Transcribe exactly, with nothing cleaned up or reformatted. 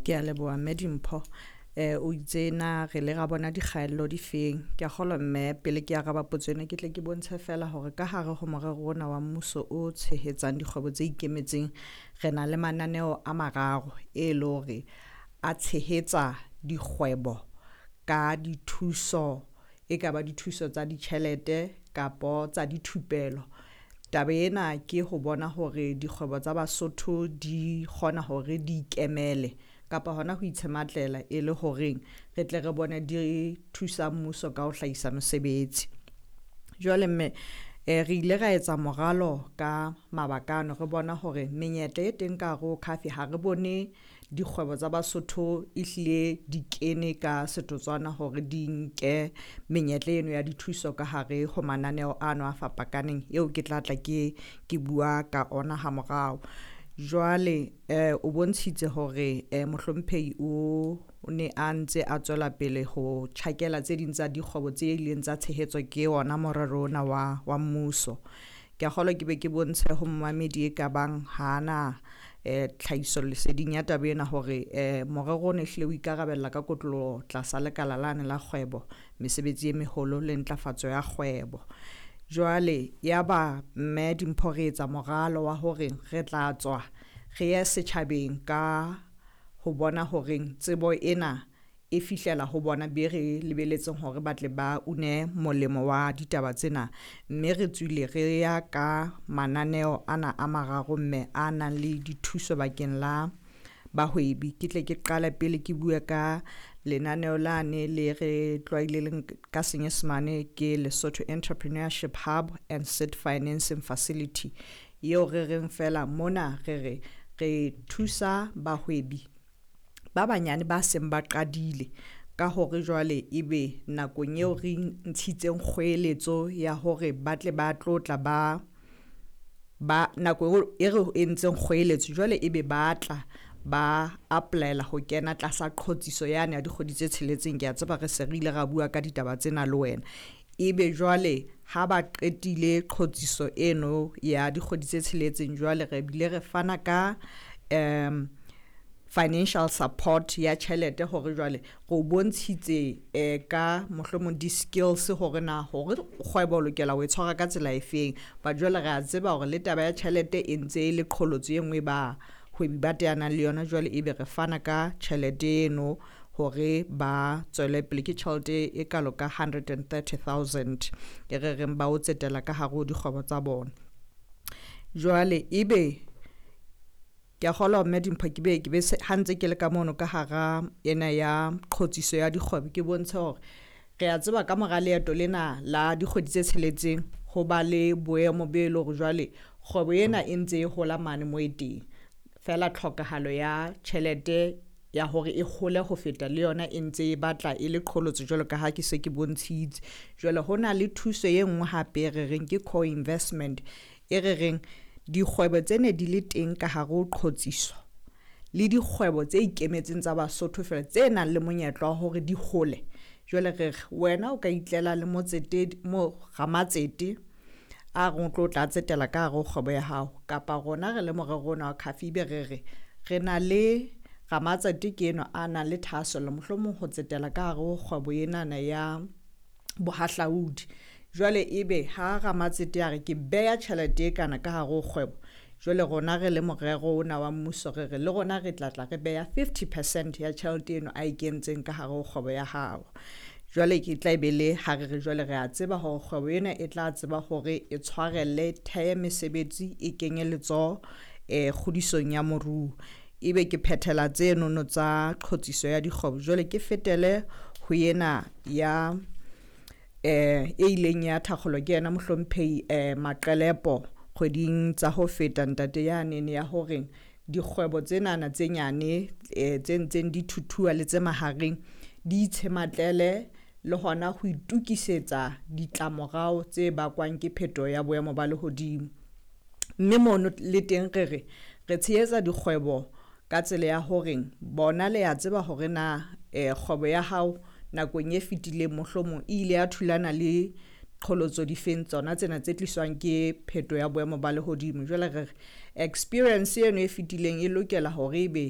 Ke a leboha mme Dimpho. Eh o itse na re le ra bona dikgaello di feng? Ke a kgolwa mme pele ke araba potso ena ke tle ke bontshe fela hore ka hare ho morero ona wa mmuso o tshehetsang dikgwebo tse ikemetseng, re na le mananeo a mararo e le hore a tshehetsa dikgwebo ka dithuso, e ka ba dithuso tsa ditjhelete kapo tsa dithupelo. Taba ena ke ho bona hore dikgwebo tsa Basotho di kgona hore di ikemele kapa hona ho itshematlela e le horeng re tle re bone di thusa mmuso ka ho hlahisa mesebetsi. Jwale mme eh re ile ra etsa moralo ka mabaka ano, re bona hore menyetla e teng ka hare ho C A F ha re bone dikgwebo tsa Basotho ehlile di kene ka setotswana hore di nke menyetla eno ya dithuso ka hare ho mananeo ano a fapakaneng eo ke tla tla ke ke bua ka ona ha morao. Jwale eh o bontshitse hore eh mohlomphehi o ne a ntse a tswela pele ho tjhakela tse ding tsa dikgwebo tse ileng tsa tshehetswa ke ona morero ona wa wa mmuso. Ke a kgolwa ke be ke bontshe ho momamedi e ka bang hana eh tlhahiso leseding ya taba ena hore eh morero ona ehlile o ikarabella ka kotloloho tlasa lekala lane la kgwebo, mesebetsi e meholo le ntlafatso ya kgwebo. Jwale ya ba mme Dimpho re etsa moralo wa hore re tla tswa re ye setjhabeng ka ho bona horeng tsebo ena e fihlela ho bona be re lebeletseng hore ba tle ba une molemo wa ditaba tsena. Mme re tswile re ya ka mananeo ana a mararo mme a nang le dithuso bakeng la bahwebi. Ke tle ke qale pele ke bue ka lenaneo lane le re tlwaileng ka senyesemane ke Lesotho Entrepreneurship Hub and Seed Financing Facility, eo re reng fela mona re re re thusa bahwebi ba banyane ba seng ba qadile ka hore jwale ebe nakong eo re ntshitseng kgoeletso ya hore ba tle ba tlo tla ba ba nako e re entseng kgoeletso jwale ebe ba tla ba apply-ela ho kena tlasa qhotsiso yane ya dikgwedi tse tsheletseng. Ke a tseba re se re ile ra bua ka ditaba tsena le wena. Ebe jwale ha ba qetile qhotsiso eno ya dikgwedi tse tsheletseng, jwale re bile re fana ka um financial support ya tjhelete hore jwale re o bontshitse eh ka mohlomong di-skills hore na hore kgwebo o lokela ho e tshwara ka tsela e feng. But jwale re a tseba hore le taba ya tjhelete e ntse e le qholotso e nngwe ba hwebi ba teanang le yona. Jwale ebe re fana ka tjhelete eno hore ba tswele pele, ke tjhelete e kalo ka hundred and thirty thousand e re reng ba o tsetela ka hare ho dikgwebo tsa bona. Jwale ebe ke a kgolwa mme Dimpho ke be ke be ha ntse ke le ka mono ka hara ena ya qhotsiso ya dikgwebo, ke bontshe hore re a tseba ka mora leeto lena la dikgwedi tse tsheletseng ho ba le boemo be le hore jwale kgwebo ena e ntse e hola mane mo e teng, fela tlhokahalo ya tjhelete ya hore e hole ho feta le yona e ntse e batla e le qholotso jwalo ka ha ke se ke bontshitse. Jwale ho na le thuso e nngwe hape re reng ke co-investment, e re reng dikgwebo tse ne di le teng ka hare ho qhotsiso le dikgwebo tse ikemetseng tsa Basotho fela tse nang le monyetla wa hore di hole. Jwale re re wena o ka itlela le motsetedi mo ramatsete a reng o tlo tla tsetela ka hare ho kgwebo ya hao, kapa rona re le morero ona wa C A F ebe re re re na le ramatsete ke enwa a nang le thahasello mohlomong ho tsetela ka hare ho kgwebo enana ya bohahlaudi. Jwale ebe ha ramatsete a re ke beha tjhelete e kana ka hare ho kgwebo, jwale rona re le morero ona wa mmuso re re le rona re tla tla re beha fifty percent ya tjhelete eno a e kentseng ka hare ho kgwebo ya hao. Jwale ke tla be le ha re re jwale re a tseba hore kgwebo ena e tla tseba hore e tshwarelle, thehe mesebetsi, e kenye letsoho eh kgodisong ya moruo. Ebe ke phethela tsenono tsa qhotsiso ya dikgwebo. Jwale ke fetele ho ena ya eh e ileng ya thakgolwa ke yena mohlomphehi eh Maqelepo kgweding tsa ho feta ntate yane ya hore dikgwebo tsenana tse nyane eh tse ntseng di thuthuwa le tse mahareng di itshematlele le hona ho itukisetsa ditlamorao tse bakwang ke phetoho ya boemo ba lehodimo. Mme mono le teng re re re tshehetsa dikgwebo ka tsela ya hore bona le a tseba hore na eh kgwebo ya hao nakong e fetileng mohlomong e ile ya thulana le qholotso difeng tsona tsena tse tliswang ke pheto ya boemo ba lehodimo. Jwale re re experience eno e fetileng e lokela hore ebe